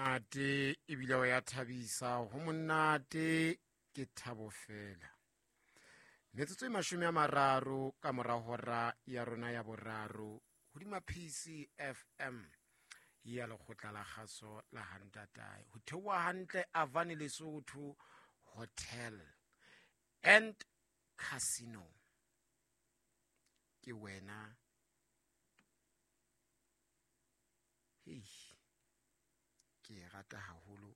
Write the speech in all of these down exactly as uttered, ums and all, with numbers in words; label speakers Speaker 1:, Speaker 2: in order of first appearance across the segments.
Speaker 1: Monate ebile o ya thabisa, ho monate ke thabo fela. Metsotso e mashome a mararo ka mora hora ya rona ya boraro hodima P C F M ya lekgotla la kgaso la Hantatae. Ho theoha hantle Avani Lesotho Hotel and Casino. Ke wena. Hei, ke e rata haholo.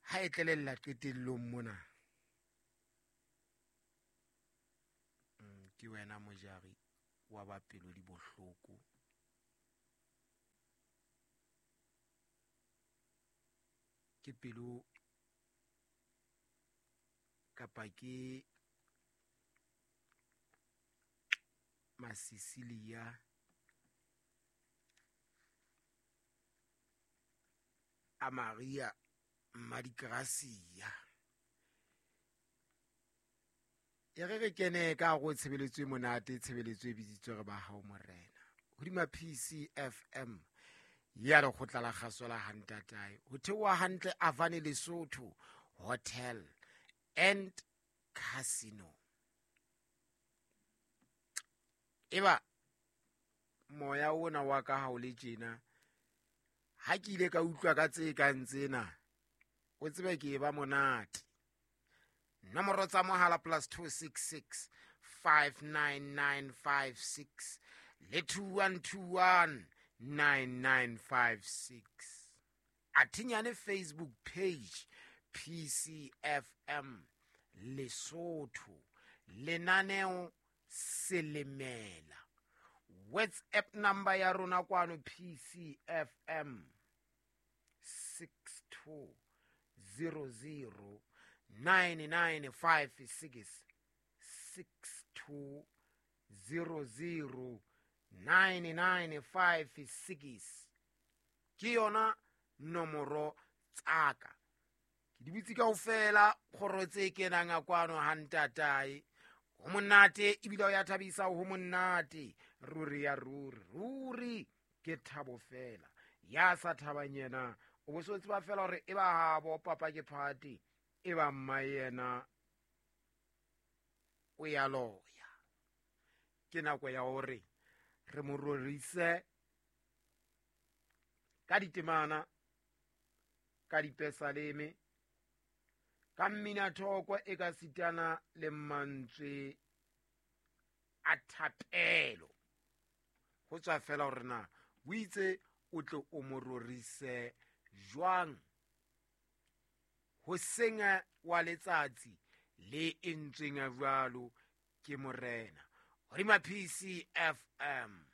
Speaker 1: Ha e tlelella qetellong mona. Mm, ke wena mojari wa ba pelo di bohloko. Ke pelo kapa ke Masisilia a Maria Madikrasia. E re re kene ka go tshebeletso e monate, tshebeletso e bitsitswe re ba hao morena. Hodima P C F M ya lekgotla la kgaso la Hantatae. Ho theoha hantle Avani Lesotho Hotel and Casino. Eba moya ona wa ka ha o le tjena, ha ke ile ka utlwa ka tse kang tsena, o tsebe ke e ba monate. Nomoro tsa mohala plus two six six five nine nine five six le two one two one nine nine five six. Athinyane Facebook page P C F M Lesotho, lenaneo Selemela. WhatsApp number ya rona kwano P C F M six two zero zero nine nine five six, six two zero zero nine nine five six. Ke yona nomoro tsaka. Ke di butse kaofela kgoro tse kenang a kwano ha ntatae. Ho monate ebile o ya thabisa, ho monate ruri ya ruri, ruri ke thabo fela. Ya sa thabang yena o bo so tseba fela hore e ba habo papa ke party, e ba mma yena o ya loya. Ke nako ya hore re mo rorise ka ditemana, ka dipesaleme, ka mmina thoko e ka sitana le mantswe a thapelo. Ho tswa fela hore na o itse o tle o mo rorise jwang hoseng wa letsatsi le entsweng jwalo ke morena. Hodima P C F M.